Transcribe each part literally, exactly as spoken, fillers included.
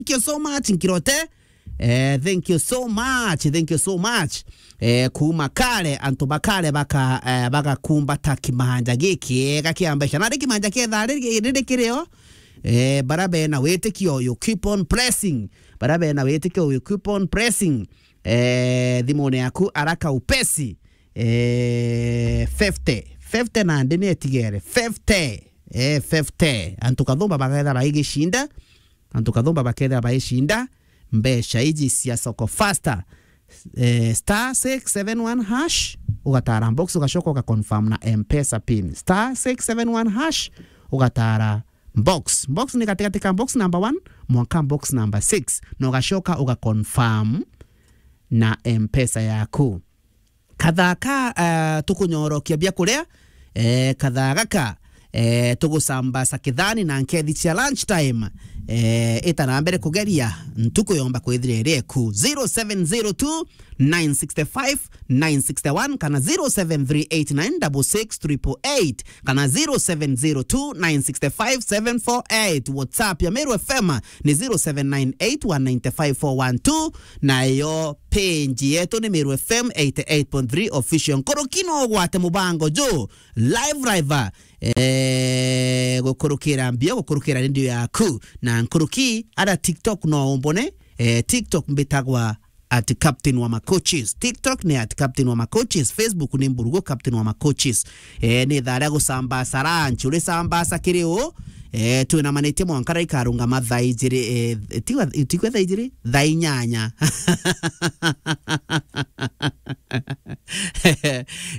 Thank you so much, Nkirote. Eh, thank you so much, thank you so much. Eh, kuuma kare, antu ba kare baka, eh, bagakumbata kimanja gikiega kia mbeca. Na ri kimanja kia thaa riri, riri kirio, eh, bara bena witikio, you keep on pressing. Bara bena witikio, you keep on pressing. Eh, thimune yaku araka upesi. Eh, fifty. Fifty nandi ni etigere. Fifty. Eh, fifty. Antu kathumba baketha baigishinda. Antu kathumba baketha baicinda mbeca iji cia Soko Faster. Eh, star six seven one hash, ugatara box, ugacoka ugaconfirm na M-Pesa pin. Star six seven one hash, ugatara box. Box ni gatigati ka box number one mwanka box number six. Na ugacoka ugaconfirm na M-Pesa yaku. Kathaa ka, eh, tukunyorokia bia kuria, eh, kathaa gaka, eh, tugucambasa kithani na nkethi cia lunch time, eh, ita na mbere kugeria ntuku yomba kwithira iri eku. Zero seven zero two, nine six five, nine six one kana zero seven three eight nine double six triple eight kana zero seven zero two, nine six five, seven four eight. WhatsApp ya Meru F M ni zero seven nine eight one nine five four one two, nayo page yetu ni Meru F M eighty eight point three Official. Nkuruki no ugwate mubango ju live, live, eh, gukurukira mbio, gukurukira radio yaku. Na nkuruki ara TikTok no umbone, eh, TikTok mbitagwa at Captain wa Macoaches. TikTok ni at Captain wa Macoaches. Facebook ni Mburugu Captain wa Macoaches. Eh, ni thaa ria gucambasa lunch. Uri cambasa kiri u? Eh, twinamanitie mwanka ria ikarungama thaa ijiri, eh, tigwa, tigwa thaa ijiri? Thaa inyanya.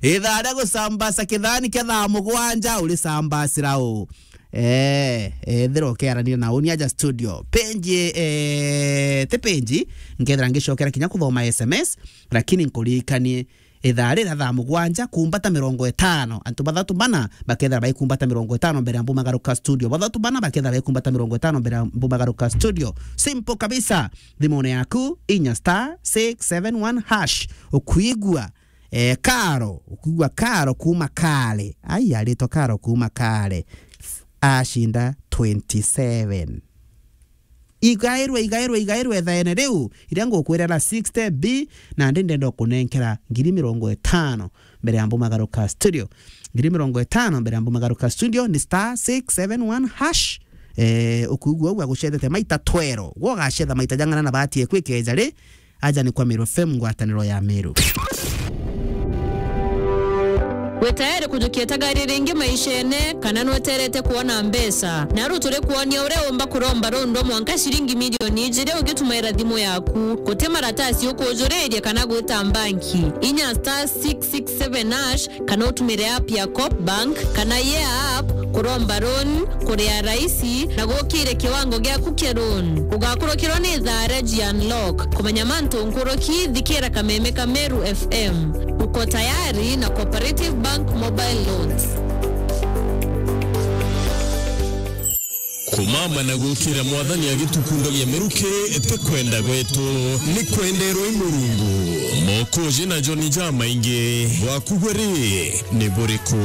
Ithaa ria gucambasa kithani kia thaa mugwanja, uri cambasira u? Eh, ethira ukiaranira na uni aja studio. Penji, eh, ti penji, nkethira ngicokera kinya kuthoma S M S, lakini nkuririkanie ithaa riria thaa mugwanja kumbata mirongo itano. Antu bathatu bana bakethira baikumbata mirongo itano mbere ya mbumagaruka studio. Bathatu bana bakethira baikumbata mirongo itano mbere ya mbumagaruka studio. Simple kabisa. Thimune yaku, inya star six seven one hash. Ukuigua, eh, Karo, ukuigua Karo kuuma Kare. Ai, aritwa Karo kuuma Kare. Acinda twenty seven. Igairwe, igairwe, igairwe ithaene riu, iria ngukwirira sixty B, na ndi ndenda kunenkera ngiri mirongo itano mbere ya mbumagaruka studio. Ngiri mirongo itano mbere ya mbumagaruka studio ni star six seven one hash. Eh, ukuigua ugwa gucethete maita twero. Gwo ugacetha maita jang'ana na bahati eku ikeja ri, aja ni kwa Meru F M, ngwataniro ya Meru. Wi tayari kujukia tagari ringi maishene, kana nweterete kuona mbeca? Naru turi kuonia uria umba kuromba rundu mwanka ciringi milioni ijiri ugitumaira thimu yaku. Guti maratasi ukujuriria kana gwita mbanki. Inya star six six seven hash, kana utumire app ya Coop Bank kana Yeah App kuromba loan, kuria raisi na gukire kiwango giaku kia loan. Ugakurukirwa ni thaa ria G Unlock. Kumenya mantu nkuruki, thikira kameme ka Meru F M. Uko tayari na Cooperative Bank Mobile Loans. Kumama na gukira Mwathani agitukundagia miruki ti kwenda gwetu, ni kwenderwa i Murungu. Mokoji na John jamaingi, bwaku bwe ri ni buriku?